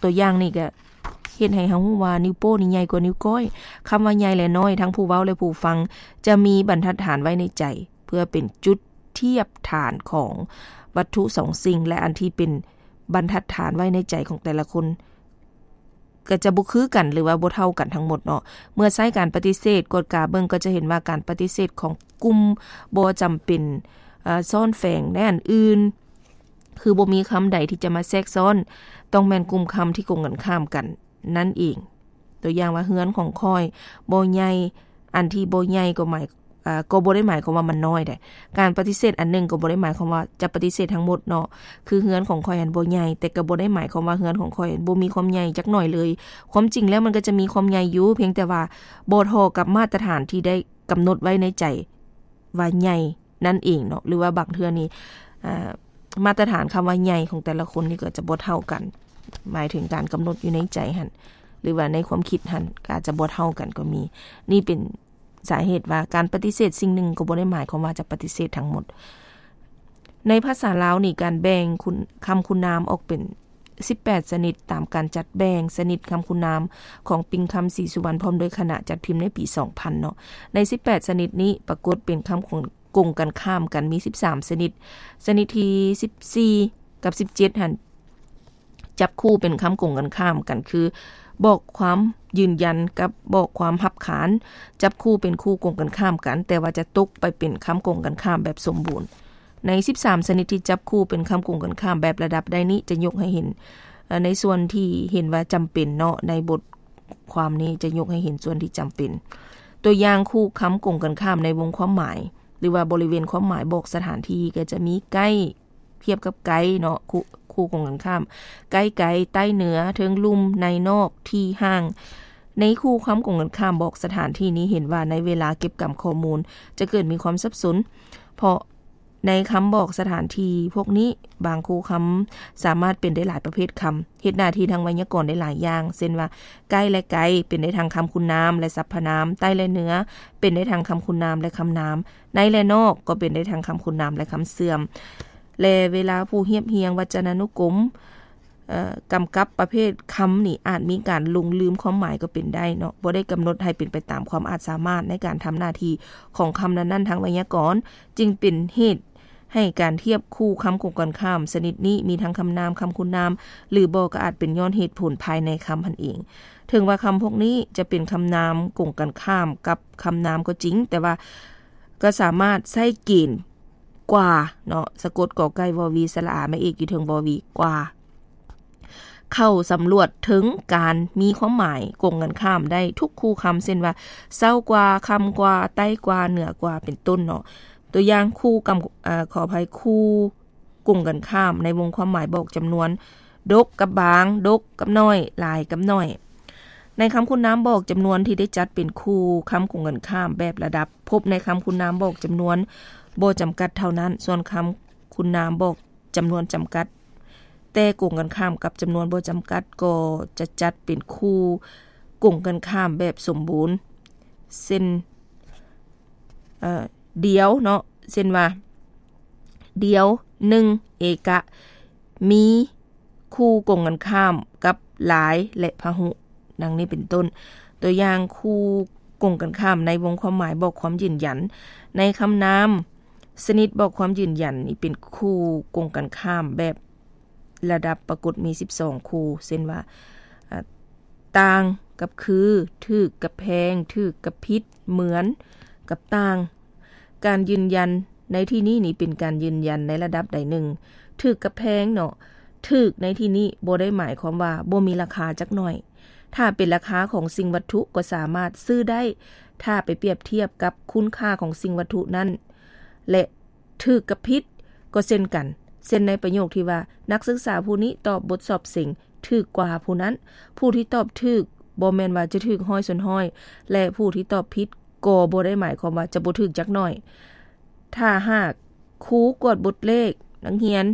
ຕົວຢ່າງນີ້ກໍເຮັດໃຫ້ເຮົາຮູ້ວ່ານິ້ວໂປ້ນີ້ໃຫຍ່ກວ່ານິ້ວກ້ອຍ. ຄຳວ່າໃຫຍ່ ແລະ ນ້ອຍ ທັງຜູ້ເວົ້າ ແລະ ຜູ້ຟັງ ຈະມີບັນທັດຖານໄວ້ໃນໃຈ ເພື່ອເປັນຈຸດທຽບຖານຂອງວັດຖຸສອງສິ່ງ ແລະ ອັນທີ່ເປັນບັນທັດຖານໄວ້ໃນໃຈຂອງແຕ່ລະຄົນ ກໍຈະບໍ່ຄືກັນ ຫຼືວ່າບໍ່ເທົ່າກັນທັງໝົດເນາະ. ເມື່ອໃຊ້ການປະຕິເສດ ກວດກາເບິ່ງກໍຈະເຫັນວ່າການປະຕິເສດຂອງກຸ່ມບໍ່ຈຳເປັນ ເອີ ຊ້ອນແຝງໃນອັນອື່ນ ຄືບໍ່ມີຄຳໃດທີ່ຈະມາແຊກຊ້ອນ ຕ້ອງແມ່ນກຸ່ມຄຳທີ່ກົງກັນຂ້າມກັນນັ້ນເອງ. ຕົວຢ່າງວ່າ ເຮືອນຂອງຂ້ອຍບໍ່ໃຫຍ່, ອັນທີ່ບໍ່ໃຫຍ່ກໍໝາຍ ເອີ ກໍບໍ່ໄດ້ໝາຍຄວາມວ່າມັນນ້ອຍໃດ. ການປະຕິເສດອັນໜຶ່ງກໍບໍ່ໄດ້ໝາຍຄວາມວ່າຈະປະຕິເສດທັງໝົດເນາະ, ຄືເຮືອນຂອງຂ້ອຍຫັ້ນບໍ່ໃຫຍ່ ແຕ່ກໍບໍ່ໄດ້ໝາຍຄວາມວ່າເຮືອນຂອງຂ້ອຍຫັ້ນບໍ່ມີຄວາມໃຫຍ່ຈັກໜ້ອຍເລີຍ. ຄວາມຈິງແລ້ວມັນກໍຈະມີຄວາມໃຫຍ່ຢູ່ ພຽງແຕ່ວ່າບໍ່ທໍ່ກັບມາດຕະຖານທີ່ໄດ້ກຳນົດໄວ້ໃນໃຈວ່າໃຫຍ່ ນັ້ນເອງເນາະ ຫຼືວ່າບາງເທື່ອນີ້ ເອີ ມາດຕະຖານຄຳວ່າໃຫຍ່ຂອງແຕ່ລະຄົນນີ້ກໍຈະບໍ່ເທົ່າກັນ ໝາຍເຖິງການກຳນົດຢູ່ໃນໃຈຫັ້ນ ຫຼືວ່າໃນຄວາມຄິດຫັ້ນ ກໍອາດຈະບໍ່ເທົ່າກັນກໍມີ. ນີ້ເປັນສາເຫດວ່າການປະຕິເສດສິ່ງໜຶ່ງກໍບໍ່ໄດ້ໝາຍຄວາມວ່າຈະປະຕິເສດທັງໝົດ. ໃນພາສາລາວນີ້ ການແບ່ງຄຸນ ຄຳຄຸນນາມອອກເປັນສິບແປດຊະນິດ ຕາມການຈັດແບ່ງຊະນິດຄຳຄຸນນາມຂອງປິງຄຳ ສີສຸວັນ ພ້ອມດ້ວຍຄະນະ ຈັດພິມໃນປີສອງພັນເນາະ. ໃນສິບແປດຊະນິດນີ້ ປາກົດເປັນຄຳກົງກັນຂ້າມກັນມີສິບສາມຊະນິດ. ຊະນິດທີສິບສີ່ກັບສິບເຈັດຫັ້ນ ຈັບຄູ່ເປັນຄຳກົງກັນຂ້າມກັນ ຄື ບອກຄວາມຢືນຢັນກັບບອກຄວາມຮັບຂານ ຈັບຄູ່ເປັນຄູ່ກົງກັນຂ້າມກັນ ແຕ່ວ່າຈະຕົກໄປເປັນຄຳກົງກັນຂ້າມແບບສົມບູນ. ໃນສິບສາມຊະນິດທີ່ຈັບຄູ່ເປັນຄຳກົງກັນຂ້າມແບບລະດັບໄດ້ນີ້ ຈະຍົກໃຫ້ເຫັນ ເອີ ໃນສ່ວນທີ່ເຫັນວ່າຈຳເປັນເນາະ, ໃນບົດຄວາມນີ້ຈະຍົກໃຫ້ເຫັນສ່ວນທີ່ຈຳເປັນ. ຕົວຢ່າງ ຄູ່ຄຳກົງກັນຂ້າມໃນວົງຄວາມໝາຍ ຫຼືວ່າບໍລິເວນຄວາມໝາຍບອກສະຖານທີ່ ກໍຈະມີ ໃກ້ ທຽບກັບໄກເນາະ, ຄູ່ ຄູ່ກົງກັນຂ້າມ ໃກ້ໄກ, ໃຕ້ເໜືອ, ເທິງລຸ່ມ, ໃນນອກ, ທີ່ຫ່າງ. ໃນຄູ່ຄຳກົງກັນຂ້າມບອກສະຖານທີ່ນີ້ ເຫັນວ່າໃນເວລາເກັບກຳຂໍ້ມູນ ຈະເກີດມີຄວາມສັບສົນ ເພາະໃນຄຳບອກສະຖານທີ່ພວກນີ້ ບາງຄູ່ຄຳສາມາດເປັນໄດ້ຫຼາຍປະເພດຄຳ, ເຮັດໜ້າທີ່ທາງໄວຍາກອນໄດ້ຫຼາຍຢ່າງ ເຊັ່ນວ່າ ໃກ້ ແລະ ໄກ ເປັນໄດ້ທັງຄຳຄຸນນາມ ແລະ ສັບພະນາມ, ໃຕ້ ແລະ ເໜືອ ເປັນໄດ້ທັງຄຳຄຸນນາມ ແລະ ຄຳນາມ, ໃນ ແລະ ນອກ ກໍເປັນໄດ້ທັງຄຳຄຸນນາມ ແລະ ຄຳເຊື່ອມ. ແລະ ເວລາຜູ້ຮຽບຮຽງວັດຈະນານຸກົມ ເອີ ກຳກັບປະເພດຄຳນີ້ ອາດມີການຫຼົງລືມຄວາມໝາຍກໍເປັນໄດ້ເນາະ, ບໍ່ໄດ້ກຳນົດໃຫ້ເປັນໄປຕາມຄວາມອາດສາມາດໃນການທຳໜ້າທີ່ຂອງຄຳນັ້ນໆທາງໄວຍາກອນ, ຈຶ່ງເປັນເຫດໃຫ້ການທຽບຄູ່ຄຳກົງກັນຂ້າມຊະນິດນີ້ມີທັງຄຳນາມ, ຄຳຄຸນນາມ ຫຼື ບໍ່ ກໍອາດເປັນຍ້ອນເຫດຜົນພາຍໃນຄຳຫັ້ນເອງ. ເຖິງວ່າຄຳພວກນີ້ຈະເປັນຄຳນາມກົງກັນຂ້າມກັບຄຳນາມກໍຈິງ, ແຕ່ວ່າກໍສາມາດໃຊ້ເກນ ກວ່າເນາະ ສະກົດ ກ ໄກ່ ວ ວີ ສະຫຼະອາ ແມ່ເອກຢູ່ເທິງ ວ ວີ ກວ່າ ເຂົ້າສຳຫຼວດເຖິງການມີຄວາມໝາຍກົງກັນຂ້າມໄດ້ທຸກຄູ່ຄຳ ເຊັ່ນວ່າ ເຊົ້າກວ່າ, ຄ່ຳກວ່າ, ໃຕ້ກວ່າ, ເໜືອກວ່າ ເປັນຕົ້ນເນາະ. ຕົວຢ່າງ ຄູ່ກຳ ເອີ ຂໍອະໄພ, ຄູ່ກົງກັນຂ້າມໃນວົງຄວາມໝາຍບອກຈຳນວນ ດົກກັບບາງ, ດົກກັບໜ້ອຍ, ຫຼາຍກັບໜ້ອຍ. ໃນຄຳຄຸນນາມບອກຈຳນວນທີ່ໄດ້ຈັດເປັນຄູ່ຄຳກົງກັນຂ້າມແບບລະດັບ ພົບໃນຄຳຄຸນນາມບອກຈຳນວນບໍ່ຈຳກັດເທົ່ານັ້ນ, ສ່ວນຄຳຄຸນນາມບອກຈຳນວນຈຳກັດ ແຕ່ກົງກັນຂ້າມກັບຈຳນວນບໍ່ຈຳກັດ ກໍຈະຈັດເປັນຄູ່ກົງກັນຂ້າມແບບສົມບູນ ເຊັ່ນ ເອີ ດຽວເນາະ, ເຊັ່ນວ່າ ດຽວ ໜຶ່ງ ເອກະ ມີ ຄູ່ກົງກັນຂ້າມກັບຫຼາຍ ແລະ ພະຫຸ ດັ່ງນີ້ເປັນຕົ້ນ. ຕົວຢ່າງ ຄູ່ກົງກັນຂ້າມໃນວົງຄວາມໝາຍບອກຄວາມຢືນຢັນ. ໃນຄຳນາມຊະນິດບອກຄວາມຢືນຢັນນີ້ ເປັນຄູ່ກົງກັນຂ້າມແບບລະດັບປາກົດມີສິບສອງຄູ່ ເຊັ່ນວ່າ ອາ ຕ່າງກັບຄື, ຖືກກັບແພງ, ຖືກກັບຜິດ, ເໝືອນກັບຕ່າງ. ການຢືນຢັນໃນທີ່ນີ້ນີ້ເປັນການຢືນຢັນໃນລະດັບໃດໜຶ່ງ. ຖືກກັບແພງເນາະ, ຖືກໃນທີ່ນີ້ບໍ່ໄດ້ໝາຍຄວາມວ່າບໍ່ມີລາຄາຈັກໜ້ອຍ. ຖ້າເປັນລາຄາຂອງສິ່ງວັດຖຸກໍສາມາດຊື້ໄດ້ ຖ້າໄປປຽບທຽບກັບຄຸນຄ່າຂອງສິ່ງວັດຖຸນັ້ນ ແລະ ຖືກກັບຜິດກໍເຊັ່ນກັນ. ເຊັ່ນໃນປະໂຫຍກທີ່ວ່າ ນັກສຶກສາຜູ້ນີ້ຕອບບົດສອບເສັງຖືກກວ່າຜູ້ນັ້ນ, ຜູ້ທີ່ຕອບຖືກບໍ່ແມ່ນວ່າຈະຖືກຮ້ອຍສ່ວນຮ້ອຍ ແລະ ຜູ້ທີ່ຕອບຜິດກໍບໍ່ໄດ້ໝາຍຄວາມວ່າຈະບໍ່ຖືກຈັກໜ້ອຍ. ຖ້າຫາກຄູກວດບົດເລກນັກຮຽນ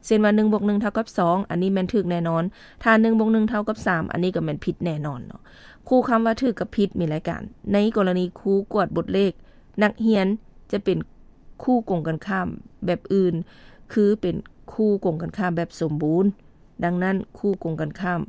ເຊັ່ນວ່າ ໜຶ່ງບວກໜຶ່ງເທົ່າກັບສອງ ອັນນີ້ແມ່ນຖືກແນ່ນອນ, ຖ້າ ໜຶ່ງບວກໜຶ່ງເທົ່າກັບສາມ ອັນນີ້ກໍແມ່ນຜິດແນ່ນອນເນາະ. ຄູ່ຄຳວ່າຖືກກັບຜິດມີລາຍການ. ໃນກໍລະນີຄູກວດບົດເລກ ນັກຮຽນຈະເປັນຄູ່ກົງກັນຂ້າມແບບອື່ນ ຄືເປັນຄູ່ກົງກັນຂ້າມແບບສົມບູນ. ດັ່ງນັ້ນ ຄູ່ກົງກັນຂ້າມ